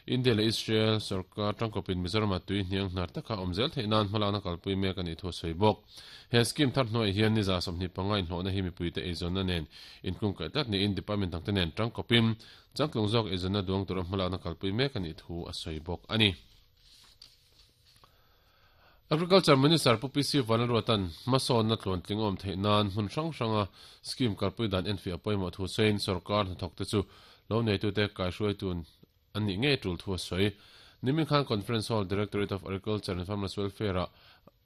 India leh Israel sorkar tangkawpin Mizoramah tui hniang hnar taka awm zel theih nan hmalakna kalpui mek a nih thu a sawi bawk. He scheme thar hnuaiah hian ni 25 inhlawhna hi mipuite eizawnna nen inkungkaih tlat niin department dangte nen tangkawpin changtlung zawk eizawnna duang tura hmalakna kalpui mek a nih thu a sawi bawk a ni. Agriculture Minister Pu PC Vanlalruata'n hmasawnna tluantling awm theih nan hmun hrang hranga scheme kalpui dan enfiah a pawimawh thu sawiin sorkar hnathawkte chu lo neitute kaihruaitu an nih ngei tul thu a sawi. Nimin khan Conference Hall Directorate of Agriculture and Farmers Welfare-ah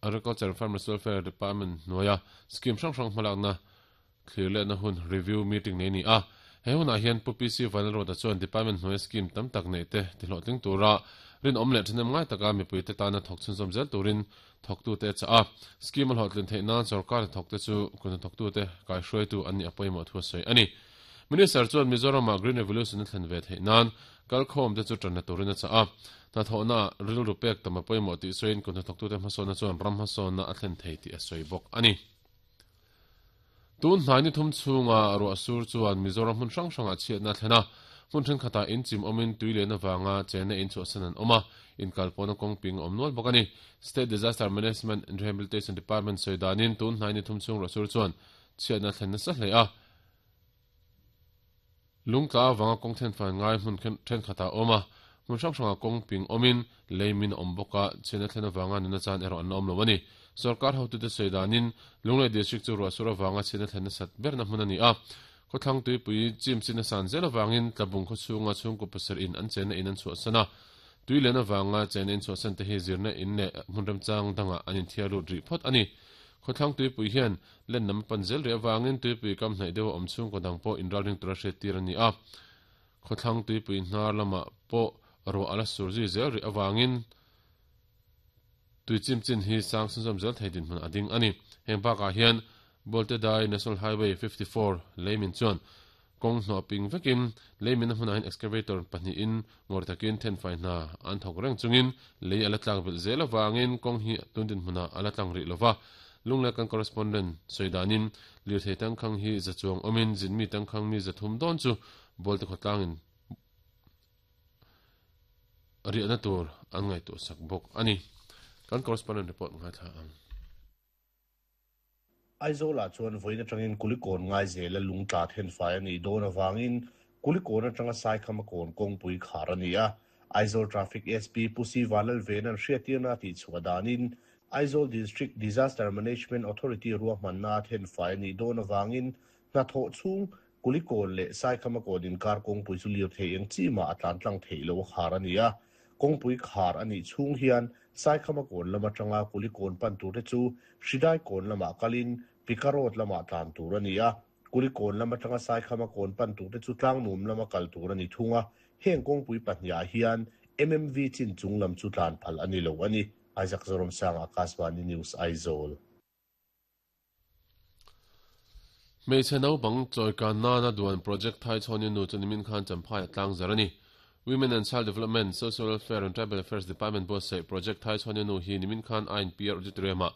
Agriculture and Farmers Welfare Department hnuaia scheme hrang hrang hmalakna thlir lehna hun review meeting nei a ni a. He hunah hian Pu PC Vanlalruata chuan Department hnuaia scheme tam tak neih te tihlawhtling tura rinawm leh ṭhahnem ngai taka mipuite tana thawk chhunzawm zel turin thawktute a chah a. Scheme a hlawhtlin theih nan sorkar hnathawkte chu kut hnathawktute kaihruaitu an nih a pawimawh thu a sawi a ni. Minister chuan Mizoramah Green Revolution a thlen ve theih nan kalkhawmte chu ṭanna turin a chah a. Hnathawhnaah rilru pek tam a pawimawh tih sawiin kut hnathawktute hmasawnna chuan ram hmasawnna a thlen thei tih a sawi bawk a ni. Tun hnai ni thum chhunga ruah sur chuan Mizoram hmun hrang hrangah chhiatna a thlen a, hmun thenkhatah in chim awmin tui lian avanga chenna in chhuahsan an awm a, inkalpawhna kawng ping a awm nual bawk a ni. State Disaster Management and Rehabilitation Department sawi danin tun hnai ni thum chhung ruah sur chuan chhiatna a thlen nasa hle a, Lungtla avanga kawng thenfai ngai hmun thenkhatah a awm a, hmun hrang hrangah kawng ping awmin lei min a awm bawk a, chhiatna thlen avanga nunna chan erawh an la awm lo a ni. Sorkar hotute sawi danin Lunglei District chu ruahsur avanga chhiatna thlen nasat berna hmun a ni a, khawthlang tuipui chim chin a san zel avangin Tlabung khawchhunga chhungkaw pasarih in an chenna in an chhuahsan a, tui len avanga chenna in chhuahsan te hi zirna in leh hmun remchang dangah an inthiar lut rih phawt a ni. Khawthlang tuipui hian Len lam a pan zel rih avangin tuipui kam hnaih deuh a awm chhungkaw dang pawh inralring tura hriattir a ni a. Khawthlang tuipui hnar lamah pawh ruah a la sur zui zel rih avangin tui chim chin hi sang chhunzawm zel thei dinhmun a ding a ni. Heng bakah hian Boltedai National Highway 54 leimin chuan Kawng hnawh ping vekin lei mina hmunah hian excavator pahnihin ngawr takin thenfai hna an thawk reng chungin lei a la tlak belh zel avangin kawng hi tun dinhmunah a la tlang rih lova. Lunglai kan correspondent sawi danin lirthei tangkhang hi za chuang awmin zinmi tangkhang mi 300 dawn chu Bawlte khawtlangin riahna tur an ngaihtuahsak bawk a ni. Kan correspondent report ngaithla ang. Aizawlah chuan vawiin atangin Kulikawn Ngaizela lungtla thenfai a nih dawn avangin Kulikawn atanga Saikhama kawn kawngpui khar a ni a. Aizawl Traffic SP Pu Si Vanlalvena'n hriattirna a tihchhuah danin Aizawl District Disaster Management Authority ruahmanna a thenfai a nih dawn avangin hnathawh chhung Kulikawn leh Saikhama kawn inkar kawngpui chu lirthei eng chi mah a tlan tlang theih loh a khar a ni a. Kawngpui khar a nih chhung hian Saikhama kawn lam atanga Kulikawn pan turte chu Hridai kawn lamah kalin Pika Road lamah tlan tur a ni a. Kulikawn lam atanga Saikhama kawn pan turte chu Tlangnuam lama kal tur a ni thung a. Heng kawngpui pahnihah hian MMV chin chung lam chu tlan phal a ni lo a ni. Isaac Zoramsanga, Akashvani News, Aizawl. Hmeichhe naupang chawikan nana duan Project Thai Chhawni Nu chu nimin khan Champhai a tlang zar a ni. Women and Child Development, Social Welfare and Tribal Affairs Department buatsaih Project Thai Chhawni Nu hi nimin khan INPR Auditorium-ah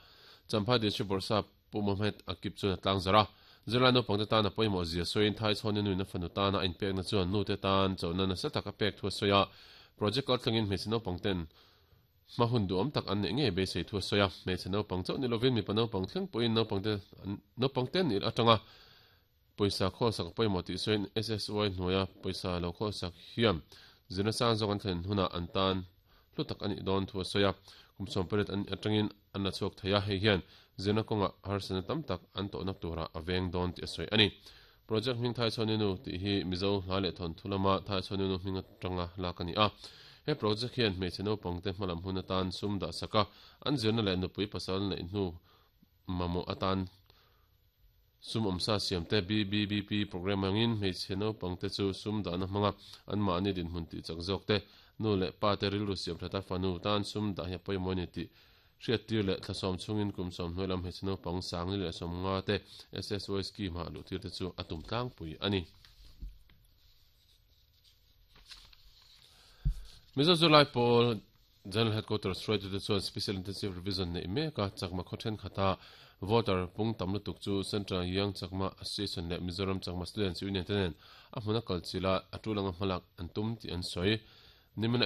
Champhai District Bawrhsap Pu Mohammed Akib chuan a tlang zar a. Zirlai naupangte tan a pawimawh zia sawiin Thai Chhawni Nuin a fanu tana a inpekna chuan nute tan chona nasa tak a pek thu a sawi a. Project kaltlangin hmeichhe naupangten Hma hun duhawm tak an neih ngei beisei thu a sawi a, hmeichhe naupang chauh ni lovin mipa naupang thleng pawhin naupangte naupangte an nih atanga pawisa khawlsak a pawimawh tih sawiin SSY hnuaia pawisa lo khawlsak hian zirna sang zawk an thlen hunah an tan hlu tak a nih dawn thu a sawi a, kum 18 an nih atangin an la chhuak thei a, hei hian zirna kawngah harsatna tam tak an tawhna turah a veng dawn tih a sawi a ni. Project hming Thaichhawninu tih hi Mizo hla leh thawnthu lama Thaichhawninu hming atanga lak a ni a. He project hian hmeichhe naupangte hmalam hun atan sum dah sak a, an zirna leh nupui pasal neih hnu mamawh atan sum awmsa siamte BBBP program angin hmeichhe naupangte chu sum dahna hmanga anmahni dinhmun tih chak zawk te, nu leh pa te rilru siam that a fanu tan sum dah hi a pawimawh a ni tih Hriattir leh thlasawm chhungin kum 90 lam hmeichhe naupang 1050 te SSY scheme ah luhtir te chu a tum tlangpui a ni. Mizo Zirlai Pawl General Headquarters hruaitute chuan Special Intensive Revision neih mek a, Chakma khaw thenkhat-a voter pung tam lutuk chu Central Young Chakma Association leh Mizoram Chakma Students Union te nen a hmuna kal chila a tul anga hmalak an tum tih an sawi. Nimina.